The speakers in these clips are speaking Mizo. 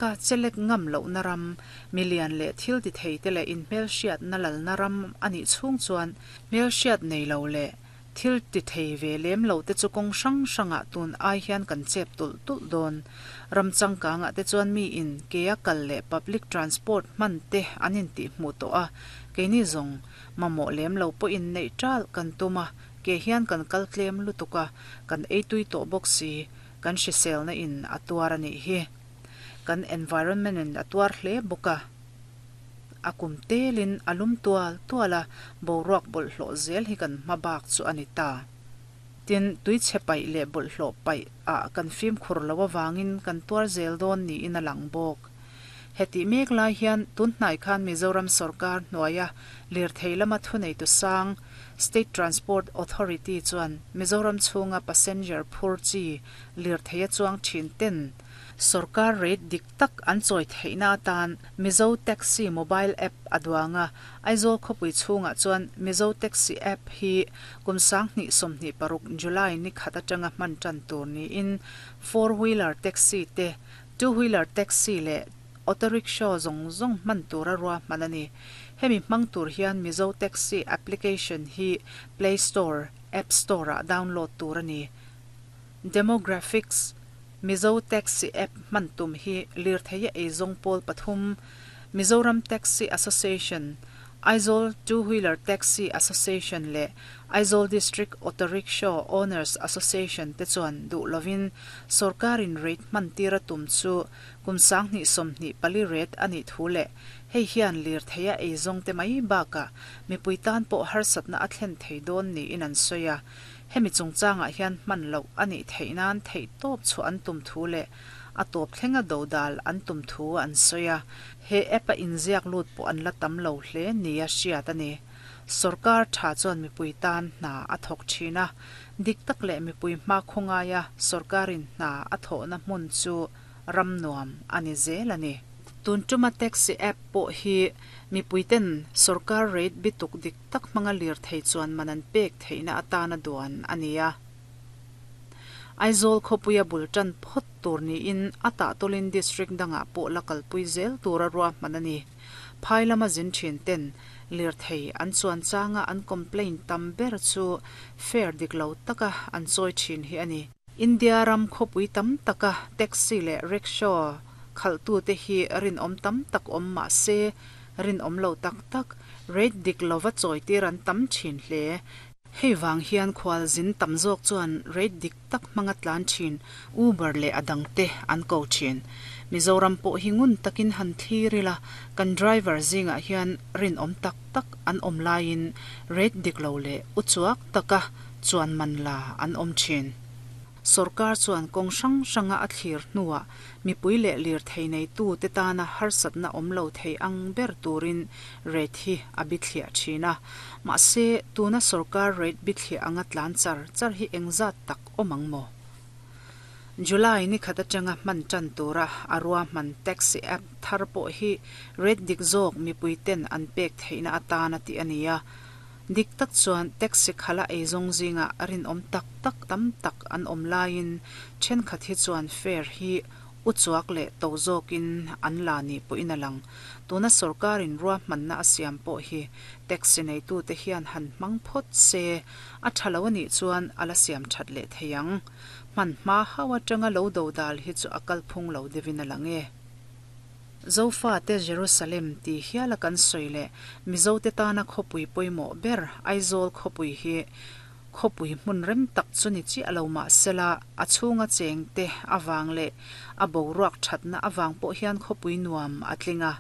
Ka chelek ngam lohna ram, milian leh thil ti theite leh inhmelhriatna lalna ram a nih chhung chuan hmelhriat nei lo leh thil ti thei ve lem lo te chu kawng hrang hrangah tun ai hian kan chep tulh tulh dawn. Ram changkangah te chuan mi in kea kal leh public transport hman te an intihhmuh tawh a, keini zawng mamawh lem lo pawhin neih ṭalh kan tum a, ke hian kan kal tlem lutuk a, kan ei tui tawh bawk si, kan hriselna in a tuar a nih hi. Kan environment in a tuar hle bawk a, a kum telin a lum tual tual a, boruak bawlhhlawh zel hi kan hma bak chu a ni ta. Tin, tuichhe paih leh bawlhhlawh paih ah kan fimkhur lo avangin kan tuar zel dawn niin a lang bawk. Hetih mek lai hian tunhnai khan Mizoram sawrkar hnuaia lirthei lama thuneitu sang State Transport Authority chuan Mizoram chhunga passenger phur chi lirthei a chuang thin ten Sorkar rate dik tak an chawi theihna atan Mizo Taxi mobile app a duang a, Aizawl khawpui chhungah chuan Mizo Taxi app hi kum 2026 July ni khat atanga hman tan tur niin four wheeler taxi te, two wheeler taxi leh auto rickshaw zawng zawng hman tura ruahman a ni. Hemi hmang tur hian Mizo Taxi application hi Play Store, App Store-ah download tur a ni. Demographics, Mizo Taxi App hman tum hi lirtheia eizawng pawl pathum, Mizoram Taxi Association, Aizawl Two Wheeler Taxi Association leh Aizawl District Auto Rickshaw Owners Association te chuan duh lovin sawrkarin rate hman tir a tum chu kum 2024 rate a nih thu leh hei hian lirtheia eizawng te mai bakah mipui tan pawh harsatna a thlen thei dawn niin an sawi a. Hemi chungchangah hian hman loh a nih theih nan theihtawp chhuah an tum thu leh a tawp thlenga dodal an tum thu an sawi a, he app a inziak lut pawh an la tam lo hle nia hriat a ni. Sorkar tha chuan mipui tan hna a thawk thin a, dik tak leh mipui hma khawngaia sorkarin hna a thawhna hmun chu ram nuam a ni zel a ni. Tun tuma taxi app pawh hi mipuiten sorkar rate bituk dik tak hmanga lirthei chuan man an pek theihna atana duan a ni a. Aizawl khawpuia bul tan phawt tur niin a tahtawlin district dangah pawh la kalpui zel tura ruahman a ni. Phai lama zin thin ten lirthei an chuan changa an complaint tam ber chu fare dik lo taka an chawi thin hi a ni. India ram khawpui tam taka taxi leh rickshaw khalhtute hi rinawm tam tak awm mah se rinawm lo tak tak, rate dik lova chawitir an tam thin hle. Hei vang hian khualzin tam zawk chuan rate dik tak hmanga tlan thin Uber leh a dangte an ko thin. Mizoram pawh hi ngun takin han thlir ila, kan driver zingah hian rinawm tak tak an awm laiin rate dik lo leh uchuak taka chuan man la an awm thin. Sorkar chuan kawng hrang hranga a thlir hnuah mipui leh lirthei neitute tana harsatna awm lo thei ang ber turin rate hi a bithliah thin a. Mahse, tuna sorkar rate bithliah anga tlan char char hi engzat tak awm ang maw? July ni khat atanga hman tan tura a ruahman taxi app thar pawh hi rate dik zawk mipui ten an pek theihna atana tih a ni a. Dik tak chuan taxi khala eizawng zingah rinawm tak tak tam tak an awm laiin thenkhat hi chuan fare hi uchuak leh to zawkin an la nih pawhin a lang. Tuna sorkarin ruahmanna a siam pawh hi taxi neitute hian han hmang phawt se a tha lo a nih chuan a la siam that leh thei ang. Hman hma hau atanga lo dodal hi chu a kalphung lo deuhin a lang e. Zofate Jerusalem tih hiala kan sawi leh Mizote tana khawpui pawimawh ber Aizawl khawpui hi khawpui hmun rem tak chu ni chiah lo mah sela a chhunga chengte avang leh a boruak thatna avang pawh hian khawpui nuam a tling a.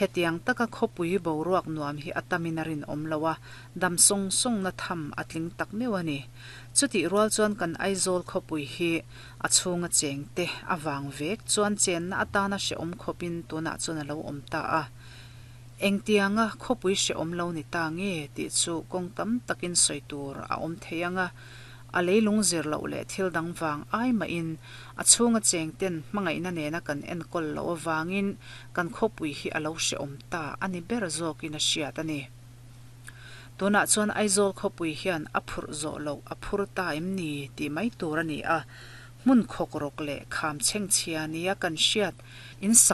Hetiang taka khawpui boruak nuam hi a tamin a rinawm lo a, dam sawng sawngna tham a tling tak meuh a ni. Chutih rual chuan kan Aizawl khawpui hi A chhunga chengte avang vek chuan chenna atana hrehawm khawpin tunah chuan a lo awm ta a. Engtianga khawpui hrehawm lo ni ta nge tih chu kawng tam takin sawi tur a awm thei ang a, a leilung zir loh leh thil dang vang ai mahin a chhunga chengten hmangaihna nena kan enkawl loh avangin kan khawpui hi a lo hrehawm ta a ni ber zawkin a hriat a ni. Tunah chuan Aizawl khawpui hian a phurh zawh loh a phur ta em ni tih mai tur a ni a. Hmun khawkrawk leh kham chhengchhia nia kan hriat in sak.